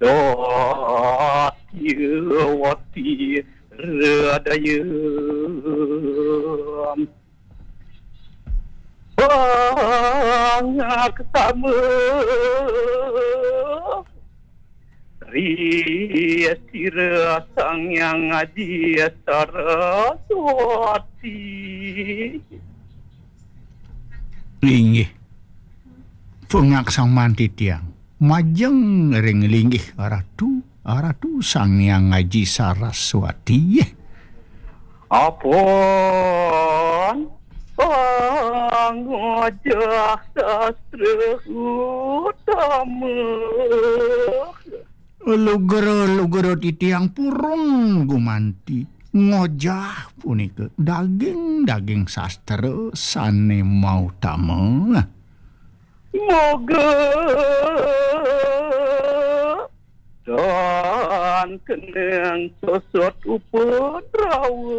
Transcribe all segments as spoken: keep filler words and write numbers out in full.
Satyawati radayam pangaksama ri sira Sang Hyang Aji Saraswati. Inggih. Pangaksaman titiang. Majeng ring linggih Ratu, Ratu Sang Hyang Aji Saraswati. Apon pangojah sastra utama. Lugra-lugra titiang purun gumanti. Ngojah punika daging-daging sastra sane mautama. Moga tan keneng sosot upadrawa.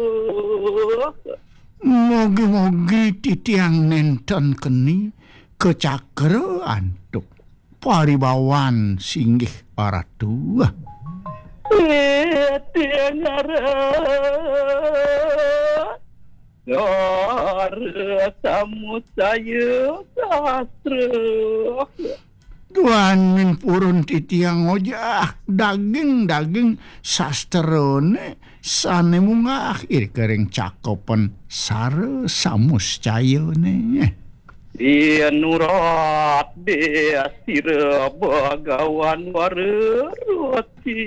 Mogi-mogi titiang nenten keni kacakra antuk paribawan singgih Ratu. Titiang arep Dara samucaya sastra. Duaning purun titiang ngojah daging-daging sastrane sane munggah irika ring cakepan sara samuscayane. Inurat de sira Bagawan Wara Roti.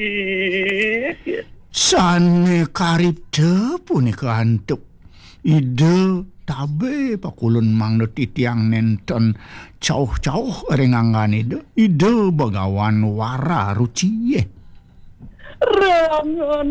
Sane karipta punika antuk Ida tabe pakulun mangda titiang nenten cauh-cauh ring anggan Ida, Ida Bagawan Wara Ruci. Rangan